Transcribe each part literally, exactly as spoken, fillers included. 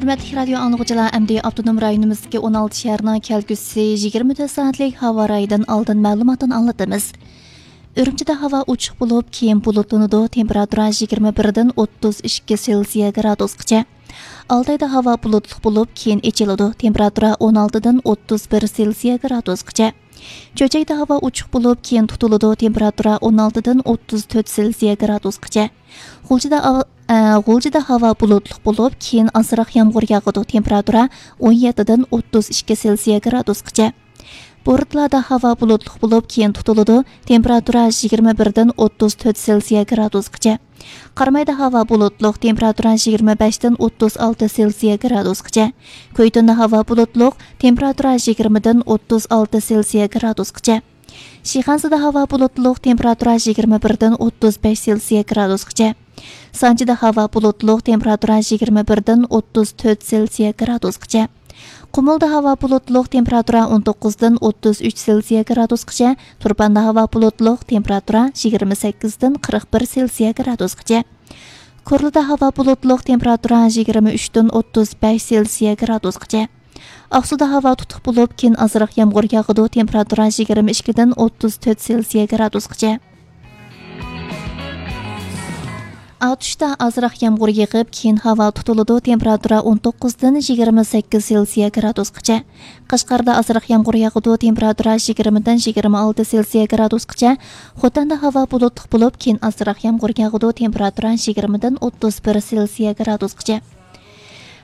ھۆرمەتلىك رادىيو ئاڭلىغۇچىلار، ئەمدى ئاپتونوم رايونىمىزدىكى ئون ئالتە شەھەرنىڭ كەلگۈسى يىگىرمە تۆت سائەتلىك ھاۋا رايىدىن ئالدىن مەلۇماتنى ئاڭلىتىمىز. ئۈرۈمچىدە ھاۋا ئوچۇق بولۇپ، كېيىن بۇلۇتلىنىدۇ، تېمپېراتۇرا يىگىرمە بىردىن ئوتتۇز ئىككى سېلسىيە گرادۇسقىچە. ئالتايدا ھاۋا بۇلۇتلۇق بولۇپ، كېيىن ئېچىلىدۇ، تېمپېراتۇرا ئون ئالتىدىن ئوتتۇز بىر سېلسىيە گرادۇسقىچە. چۆچەكتە ھاۋا ئوچۇق بولۇپ، كېيىن تۇتۇلىدۇ، تېمپېراتۇرا ئون ئالتىدىن ئوتتۇز تۆت سېلسىيە گرادۇسقىچە. غۇلجىدا ھاۋا، ئە، غۇلجىدا ھاۋا بۇلۇتلۇق بولۇپ، كېيىن ئازراق يامغۇر ياغىدۇ، تېمپېراتۇرا ئون يەتتىدىن ئوتتۇز ئىككى سېلسىيە گرادۇسقىچە. بورتالادا ھاۋا بۇلۇتلۇق بولۇپ، كېيىن تۇتۇلىدۇ، تېمپېراتۇرا يىگىرمە بىردىن ئوتتۇز تۆت سېلسىيە گرادۇسقىچە. قارامايدا ھاۋا بۇلۇتلۇق، تېمپېراتۇرا يىگىرمە بەشتىن ئوتتۇز ئالتە سېلسىيە گرادۇسقىچە. كۆيتۈندە ھاۋا بۇلۇتلۇق، تېمپېراتۇرا يىگىرمىدىن ئوتتۇز ئالتە سېلسىيە گرادۇسقىچە. شىخەنزىدە ھاۋا بۇلۇتلۇق، تېمپېراتۇرا يىگىرمە بىردىن ئوتتۇز بەش سېلسىيە گرادۇسقىچە. سانجىدا ھاۋا بۇلۇتلۇق، تېمپېراتۇرا يىگىرمە بىردىن ئوتتۇز تۆت سېلسىيە گرادۇسقىچە. قۇمۇلدا ھاۋا بۇلۇتلۇق، تېمپېراتۇرا ئون توققۇزدىن ئوتتۇز ئۈچ سېلسىيە گرادۇسقىچە. تۇرپاندا ھاۋا بۇلۇتلۇق، تېمپېراتۇرا يىگىرمە سەككىزدىن قىرىق بىر سېلسىيە گرادۇسقىچە. كورلىدا ھاۋا بۇلۇتلۇق، تېمپېراتۇرا يىگىرمە ئۈچتىن ئوتتۇز بەش سېلسىيە گرادۇسقىچە. ئاقسۇدا ھاۋا تۇتۇق بولۇپ، كېيىن ئازراق يامغۇر ياغىدۇ، تېمپېراتۇرا يىگىرمە ئىككىدىن ئوتتۇز تۆت سېلسىيە گرادۇسقىچە. ئاتۇشتا ئازراق يامغۇر يېغىپ، كېيىن ھاۋا تۇتۇلىدۇ، تېمپېراتۇرا ئون توققۇزدىن يىگىرمە سەككىز سېلسىيە گرادۇسقىچە. قەشقەردە ئازراق يامغۇر ياغىدۇ، تېمپېراتۇرا يىگىرمىدىن يىگىرمە ئالتە سېلسىيە گرادۇسقىچە. خوتەندە ھاۋا بۇلۇتلۇق بولۇپ، كېيىن ئازراق يامغۇر ياغىدۇ، تېمپېراتۇرا يىگىرمىدىن ئوتتۇز بىر سېلسىيە گرادۇسقىچە.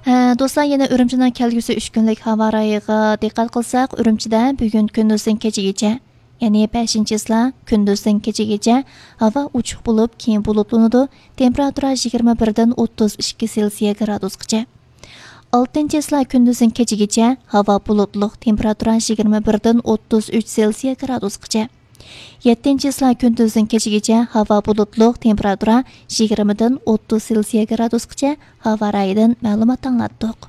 ھە، دوستلار، يەنە ئۈرۈمچىنىڭ كەلگۈسى ئۈچ كۈنلۈك ھاۋا رايىغا دىققەت قىلساق، ئۈرۈمچىدە بۈگۈن كۈندۈزدىن كېچىگىچە، يەنى بەشىنچى چىسلا كۈندۈزدىن كېچىگىچە ھاۋا ئوچۇق بولۇپ، كېيىن بۇلۇتلىنىدۇ، تېمپېراتۇرا يىگىرمە بىردىن ئوتتۇز ئىككى سېلسىيە گرادۇسقىچە. ئالتىنچى چىسلا كۈندۈزدىن كېچىگىچە ھاۋا بۇلۇتلۇق، تېمپېراتۇرا يىگىرمە بىردىن ئوتتۇز ئۈچ سېلسىيە گرادۇسقىچە. يەتتىنچى چىسلا كۈندۈزدىن كېچىگىچە ھاۋا بۇلۇتلۇق، تېمپېراتۇرا يىگىرمىدىن ئوتتۇز سېلسىيە گرادۇسقىچە. ھاۋا رايىدىن مەلۇمات ئاڭلاتتۇق.